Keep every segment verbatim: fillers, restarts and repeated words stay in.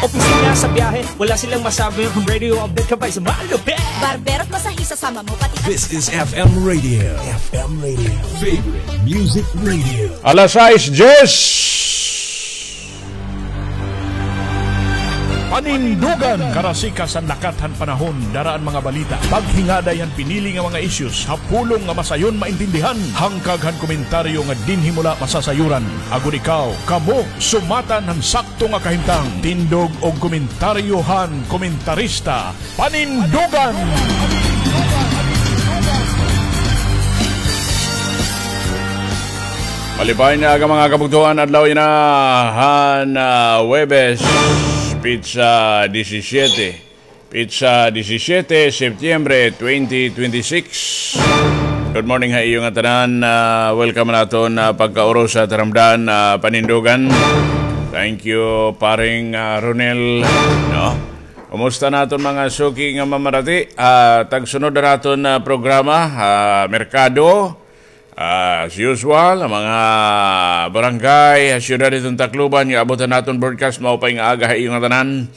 Opisina sa biyahe, wala silang masabi. Radio update ka pa, isa malupit. Barbero at masahista, sama mo pati. This is F M Radio. F M Radio. Favorite music radio. Alas sais diyes. Panindugan. Karasikas han lakat han panahon, dara an mga balita. Paghingaday han pinili nga mga issues, ha pulong nga masayon maintindihan. Hangkag han komentaryo nga dinhi mo la masasayoran. Agod ikaw, kamo, sumatan han sakto nga kahimtang. Tindog og komentaryo han komentarista. Panindugan! Malipay nga aga, mga kabugtoan, adlaw yana han, ah, Huwebes, pitsa disisyete. Pitsa disisyete, Septyembre twenty twenty-six. Good morning ha iyo ngatanan. Ah, welcome ha aton, ah, pagkauros ha taramdan, ah, Panindugan. Thank you, paring, ah, Ronel, no? Kumusta an aton mga suki nga mamarati? Ah, tagsunod an aton, ah, programa, ah, merkado. Ah, as usual, an mga barangay, ah, syudad hiton Tacloban nga abot han aton broadcast, maupay nga aga ha iyo ngatanan.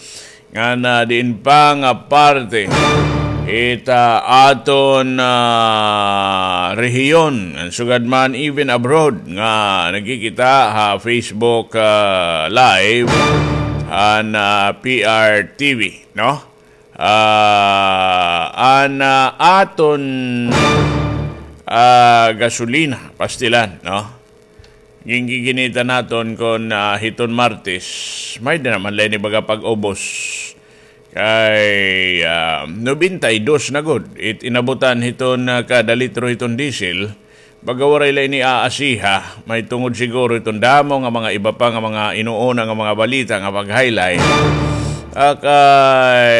Ngan, ah, diin pa nga parte hit aton, ah, rehiyon, ngan sugad man even abroad nga nagkikita ha Facebook, ah, Live han, ah, P R T V, no? Ah, an, ah, aton, ah, gasolina, pastilan, no? Gingiginita naton kon, ah, hiton Martes, may-ada na man la ini baga pag-ubos. Kay, ah, nobenta y dos na gud it inabutan hiton, ah, kada litro hiton diesel. Baga waray la ini aasiha, mahitungod siguro hiton damo nga mga iba pa nga mga inuuna nga mga balita nga pag-highlight. Ah, kay,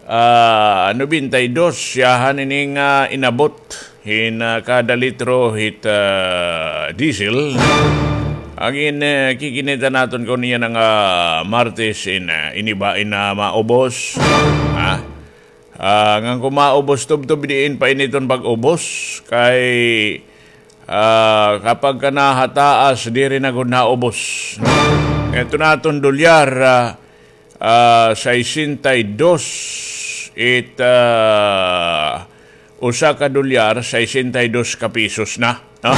ah, nobenta y dos, siyahan ini nga inabot hin, ah, kada litro hit, ah, diesel. An gin-, eh, kikinita naton kon yana nga Martes in, ah, ini ba in, ah, maubos. Ha? Ah, ngan kon maubos, tubtob diin pa ini iton pag-ubos. Kay, ah, kapag ka nahataas, diri na gud naubos, no? Ito naton dolyar, ah, ah, sesenta y dos, it, ah, usa ka dolyar, sesenta y dos ka pesos na, no?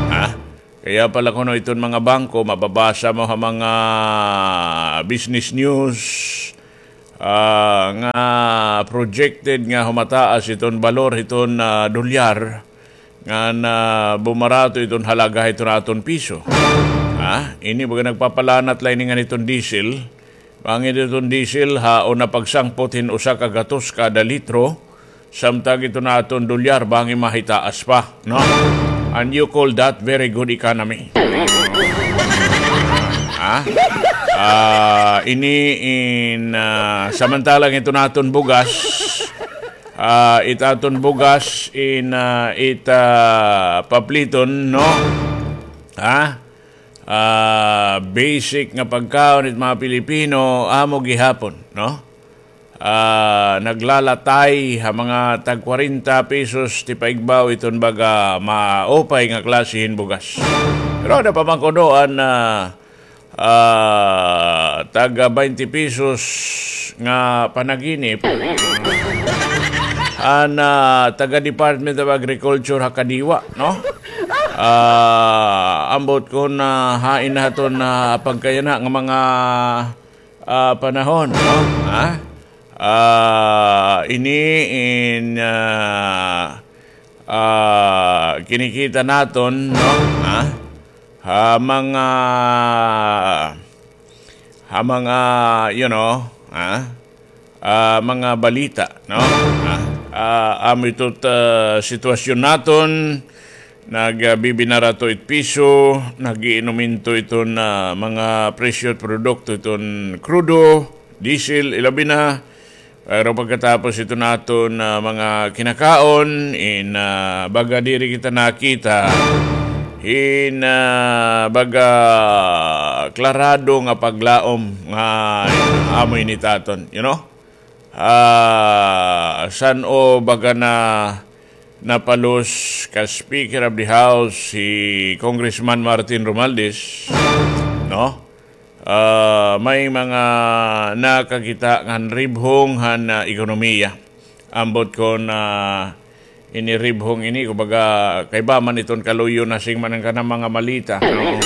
Ha? Kaya pala kuno iton mga bangko, mababasa mo ha mga business news, ah, nga projected nga humataas iton balor hiton, ah, dolyar, ngan bumarato iton halaga hiton aton piso. Ha? Ini baga nagpapalanat la ini ngan iton diesel. Bangin iton diesel ha una pagsangpot hin usa ka gatos kada litro, samtang iton aton dolyar bangin mahitaas pa, no? And you call that very good economy? Ha? Ah, ini in, ah, samantalang iton aton bugas, ah, it aton bugas in, ah, it, ah, papliton, no? Ha? Ah, basic nga pagkaon it mga Pilipino, amo gihapon, no? Ah, naglalatay ha mga tag kwarenta pesos ti paigbaw iton baga maupay nga klase hin bugas. Pero ada pa man kuno an, ah, ah, taga baynte pesos nga panaginip. An, ah, taga Department of Agriculture ha Kadiwa, no? Ah, ambot kon, ah, hain na haton, ah, pagkayana nga mga, ah, panahon, no? Ha? Ah, ini in, ah, ah, kinikita naton, no? Ha? Ha mga, ha mga, you know, ha? Ah, mga balita, no? Ha? Ah, amo ito, ah, sitwasyon naton, nagbibinarato it piso, nag-iinumento iton, ah, mga presyo it produkto, iton krudo, diesel, ilabi na. Pero pagkatapos iton aton, ah, mga kinakaon, in, ah, baga diri kita nakita hin, ah, baga klarado nga paglaom nga amo ini it aton, you know? Ah, san-o baga na napalos ka Speaker of the House si Congressman Martin Romualdez, no? ah, may mga nakakita ngan ribhong han, ah, ekonomiya. Ambot kon, ah, ini ribhong ini, kumbaga, kaiba man iton kaluyo na sing man an kanang mga malita, no?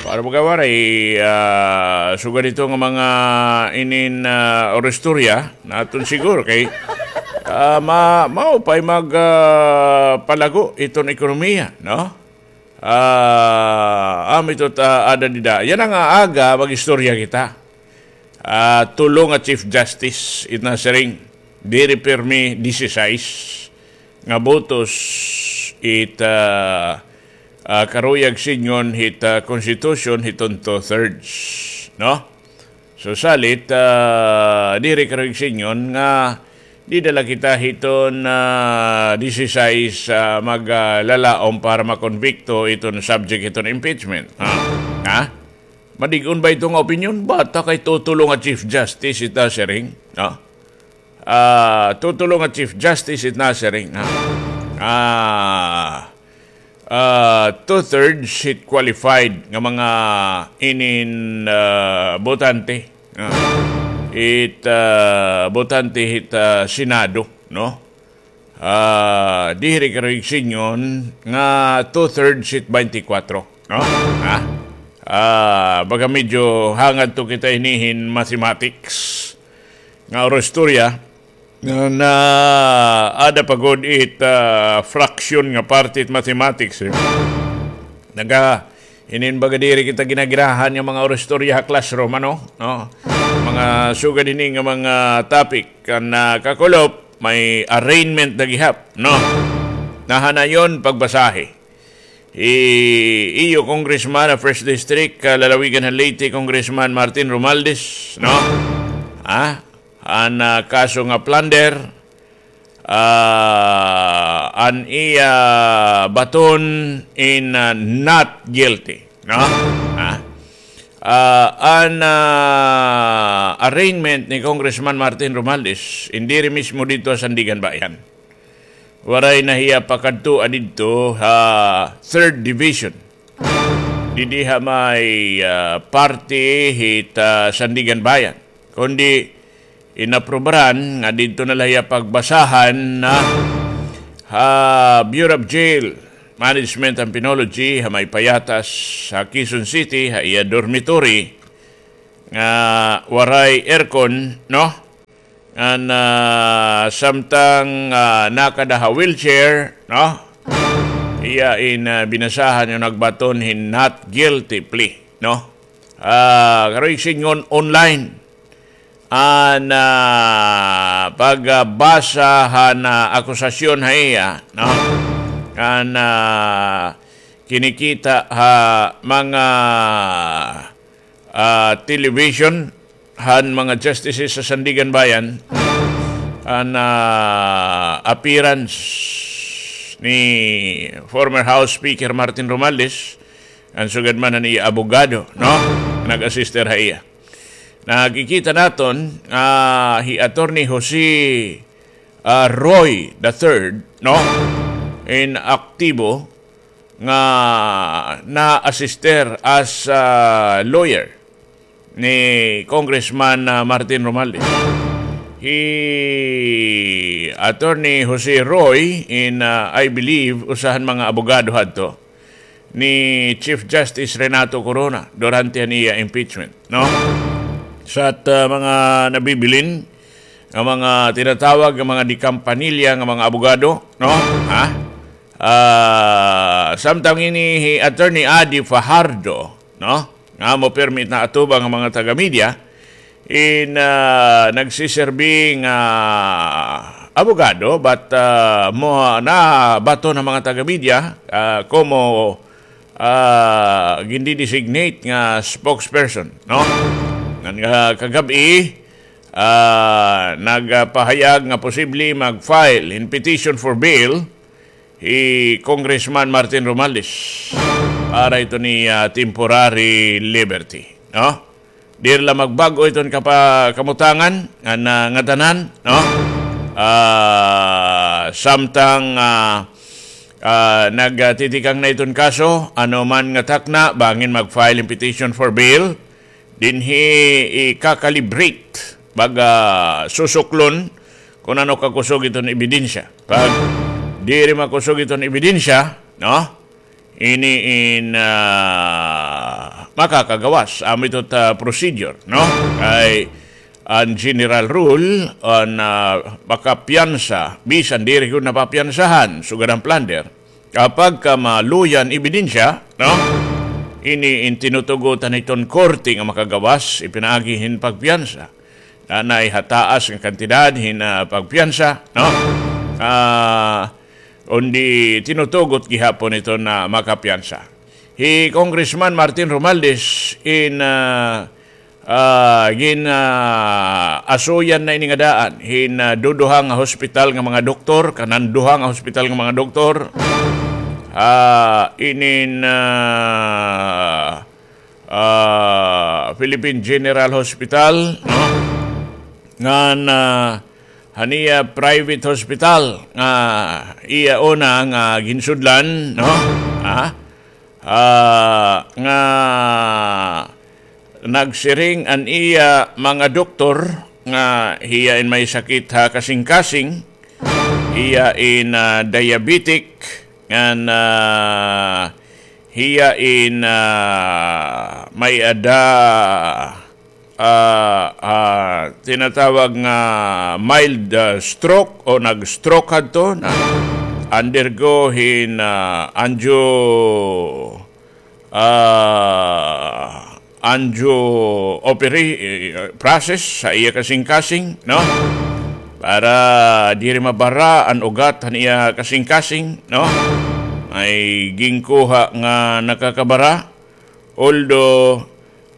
Para baga waray, ah, sugad ito nga mga inin, ah, oristorya, naton siguro kay, ah, ma-, maupay mag, ah, palago iton ekonomiya, no? Ah, amo ito ta-, ada dida. Yana nga aga, mag-istorya kita. Ah, tulo nga Chief Justice it nasiring, diri pirmi disisais nga botos it, ah, ah, karuyag sidngon hit, ah, Constitution hiton two-thirds, no? So, salit, ah, diri karuyag sidngon nga dida la kita hiton, ah, disisais, ah, mag, ah, lalaom para makonbikto iton subject hiton impeachment. Ha? Ha? Madig-on ba ito nga opinyon? Bata kay tutulo nga Chief Justice it nasiring. Ha? Ah, tutulo nga Chief Justice it nasiring. Ha? Ah, ah, two-thirds hit qualified nga mga inin, ah, botante. Ah, it, ah, botante hit, ah, Senado, no? Ah, diri karuyag sidngon nga two-thirds hit twenty-four, no? Ha? Ah, baga medyo hangad to kita hinihin mathematics nga oristorya. Na, na, ada pa gud it, ah, fraction nga parte it mathematics, eh. Naga, inin baga diri kita ginagirahan nga mga oristorya ha classroom, ano? No? Mga sugad ini nga mga topic, kan, ah, kakulop, may arraignment na gihap, no? Nahanayon pagbasahi. I-, iyo Congressman ha First District, ah, lalawigan ha Leyte, Congressman Martin Romualdez, no? Ha? An, ah, kaso nga plunder, ah, an iya baton in, ah, not guilty, no? Ha? Ah, an, ah, arraignment ni Congressman Martin Romualdez, in diri mismo didto ha Sandiganbayan. Waray na hiya pakadtoa didto ha Third Division. Didi ha may, ah, parte hit, ah, Sandiganbayan. Kundi inaprubaran nga didto na la hiya pagbasahan na ha Bureau of Jail Management and Penology ha may Payatas, ha Quezon City, ha iya dormitory nga waray aircon, no? Ngan, ah, samtang, ah, nakada ha wheelchair, no? Iya in, ah, binasahan nga nagbaton hin not guilty plea, no? Ah, karuyag sidngon online. An, ah, pagbasa han, ah, akusasyon ha iya, no? An, ah, kinikita ha mga ah, television han mga justices sa Sandiganbayan, an, ah, appearance ni former House Speaker Martin Romualdez, an sugad man han iya abogado, no? Nag-assister ha iya. Nakikita naton, ah, hi Attorney Jose, ah, Roy the third, no? In aktibo, nga na-assister as, ah, lawyer ni Congressman, ah, Martin Romualdez. Hi Attorney Jose Roy in, ah, I believe, usa han mga abogado hadto ni Chief Justice Renato Corona durante han iya impeachment, no? Sa at, ah, mga nabibilin nga mga tinatawag nga mga de campanilla nga mga abogado, no? Ha? Ah, samtang ini hi Attorney Adi Fajardo, no? Nga amo pirmi it naatubang nga mga taga-media, in, ah, nagsiserbi nga abogado, but, ah, mo, nabaton han mga taga-media, ah, komo, ah, gindi-designate nga spokesperson, no? Ngan nga kagab-i, ah, nagpahayag nga posible mag-file hin petition for bail hi Congressman Martin Romualdez para ito ni, ah, temporary liberty, no? Diri la magbag-o iton kapa-, kamutangan ngan, ah, ngatanan, no? Ah, samtang, ah, Ah, nagtitikang na iton kaso, ano man nga takna, bangin mag-file hin petition for bail, dinhi ikakalibrate, baga susuklon, kun ano kakusog iton ebidensya. Pag diri makusog iton ebidensya, no? Ini in, ah, makakagawas. Amo ito ta procedure, no? Kay an general rule, an, ah, makapiyansa, bisan diri gud napapiyansahan, sugad an plunder. Kapag ka maluya an ebidensya, no? Ini in tinutugotan hiton korte nga makagawas, ipinaagi hin pagpiyansa. Nanay ha taas nga kantidad hin, ah, pagpiyansa, no? Ah, undi tinutugot gihapon ito na makapiyansa. Hi Congressman Martin Romualdez in, ah, ah, gin, ah, asuyan na ini nga daan hin, ah, duduha nga hospital nga mga doktor, kanan duha nga hospital nga mga doktor. Ah, inin, ah, ah, Philippine General Hospital, no? Ngan, ah, han iya private hospital nga iya una nga ginsudlan, no? Ah, ah, nga nagsiring an iya mga doktor nga hiya in may sakit ha kasingkasing, hiya in, ah, diabetic, ngan, ah, hiya in, ah, may-ada, ah, ah, tinatawag nga mild, ah, stroke o nag-stroke hadto, na-undergo hin, ah, angio-, ah, angio opera-, eh, process ha iya kasingkasing, no? Para diri mabara an ugat han iya kasingkasing, no? May ginkuha nga nakakabara. Although,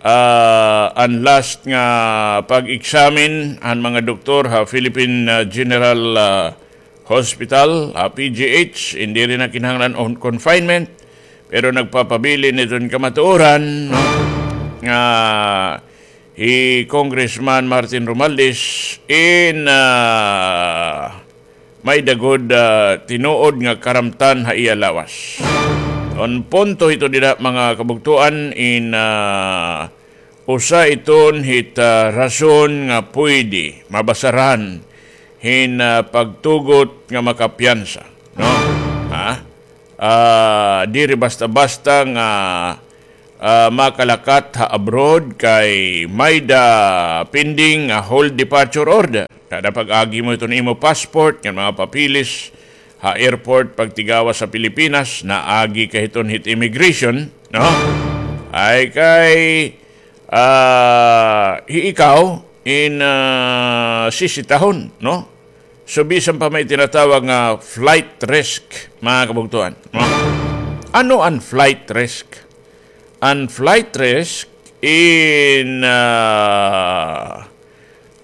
ah, an last nga pag-examine han mga doktor ha Philippine, ah, General, ah, Hospital, ha P G H, in diri na kinahanglan hin confinement, pero nagpapabilin iton kamatuoran, no? Nga hi Congressman Martin Romualdez in, ah, may-ada gud, ah, tinuod nga karamtan ha iya lawas. An punto hito dida, mga kabugtoan, in, ah, usa iton hit, ah, rason nga pwede mabasaran hin, ah, pagtugot nga makapiyansa, no? Ha? Ah, diri basta-basta nga, ah, makalakat ha abroad kay may-ada pending nga hold departure order. Kada pag-agi mo iton imo passport ngan mga papeles ha airport pagtigawas sa Pilipinas, naagi ka hiton hit immigration, no? Ay kay, ah, hi ikaw in, ah, sisitahon, no? So, bisan pa may tinatawag nga flight risk, mga kabugtoan, no? Ano an flight risk? An flight risk in, ah,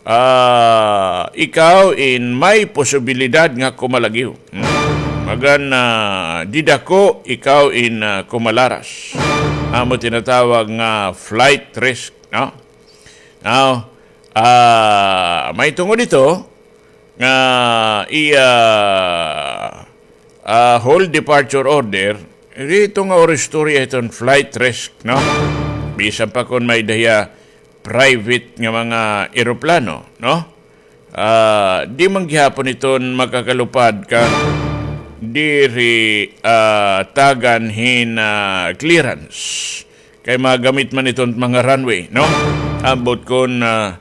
ah, ikaw in may posibilidad nga kumalagyo. Hmm. Magan, ah, didako ikaw in, ah, kumalaras. Amo tinatawag nga flight risk, no? Now, ah, may tungod ito nga iya, ah, hold departure order, dito nga oro istorya hiton flight risk, no? Bisan pa kon may-ada hiya private nga mga eroplano, no? Ah, di man gihapon iton makakalupad kon diri, ah, tagan hin, ah, clearance. Kay magamit man iton mga runway, no? Ambot kon, ah,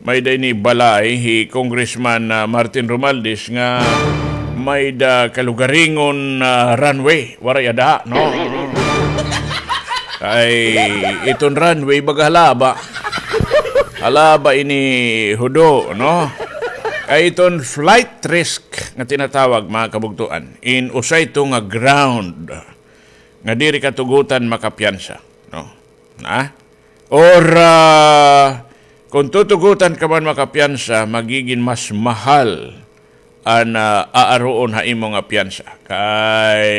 may-ada ini balay hi Congressman, ah, Martin Romualdez nga may-ada kalugaringon, ah, runway. Waray ada, no? Kay iton runway baga halaba. Halaba ini hudo, no? Kay iton flight risk nga tinatawag, mga kabugtoan, in usa ito nga ground nga diri ka tugutan makapiyansa, no? Na? Or, ah, kon tutugutan ka man makapiyansa, magigin mas mahal an, ah, aaruon ha imo nga piyansa. Kay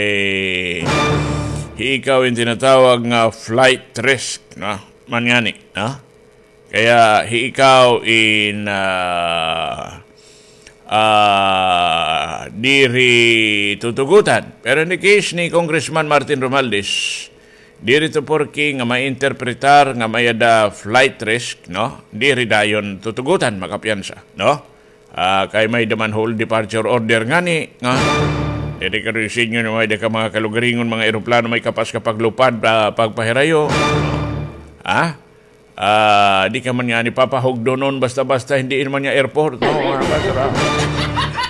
hi ikaw in tinatawag nga flight risk, no? Man ngani, no? Kaya hi ikaw in, ah, ah, diri tutugutan. Pero in the case ni Congressman Martin Romualdez, diri ito porke nga mainterpretar nga may-ada flight risk, no? Diri dayon tutugutan, makapiyansa, no? Ah, kay may-ada man hold departure order ngani, nga diri ka rin sinyo na may-ada ka mga kalugaringon, mga eroplano may kapas ka paglupad, ah, pagpahirayo. Ha? Ah, di ka man ngani papahugdonon basta-basta, hindi man nga airport, no? Mga basura.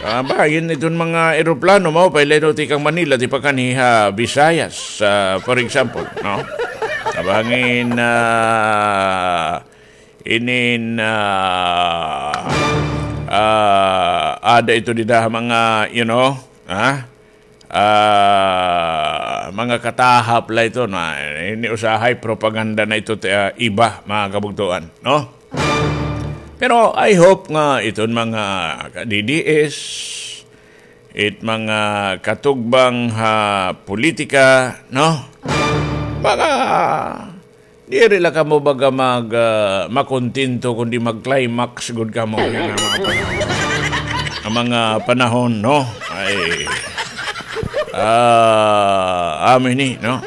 Ah, ba, yun iton mga eroplano mo, paileno ti kang Manila, ti pa kaniha Visayas, ah, for example, no? Kabangin, ah, inin, ah, ah, ada ito dida mga, you know, ha? Ah, mga katahap la ito na ini usahay propaganda na ito ti, ah, iba, mga kabugtuan, no? Pero I hope nga iton mga ka-D D S, it mga katugbang ha politika, no? Mga diri la kamo baga mag, ah, makontento kundi mag-climax gud kamo nga mga, nga mga panahon, no? Ay, ah, amin ni, no?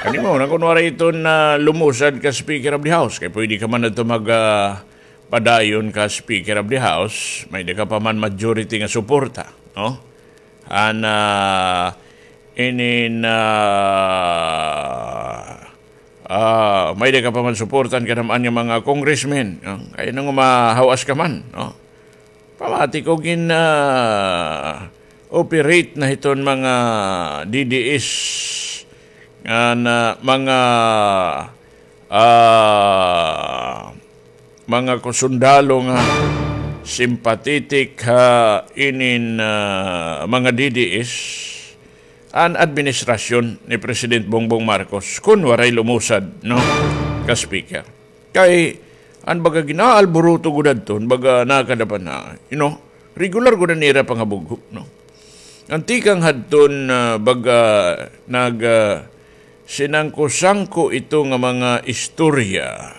Kani mo, na kunwari iton na lumusad ka Speaker of the House, kay pwede ka man adto mag, ah, padayon ka Speaker of the House, may-ada ka pa man majority nga suporta, no? An, ah, inin, ah, ah, may-ada ka pa man suportan kanaman nga mga congressmen, no? Kay nang mahawas ka man, no? Pamati ko gin, ah, operate na hiton mga D D S nga na mga, ah, mga kusundalo nga sympathetic ha inin, ah, mga D D S an administrasyon ni President Bongbong Marcos kun waray lumusad, no, ka speaker. Kay an baga ginaalburuto gud adton, baga nakadapan na, you know, regular gud an ira pangabugho, no. An tikang hadton, ah, baga nag, ah, sinangko-sangko ito nga mga istorya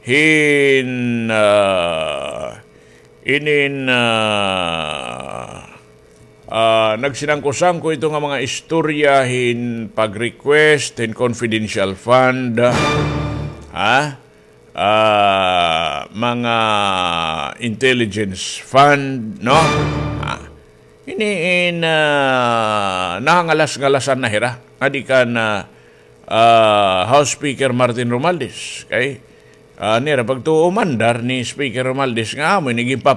hin, ah, inin, ah, ah, nagsinangko-sangko ito nga mga istorya hin pag-request hin confidential fund, ha? Ah, mga intelligence fund, no? Ah, ini in, ah, nahangalas-ngalasan na hira. Nga di kan, ah, ah, House Speaker Martin Romualdez. Kay, ah, nira pagtuo mandar ni Speaker Romualdez nga amo ini ginpapa-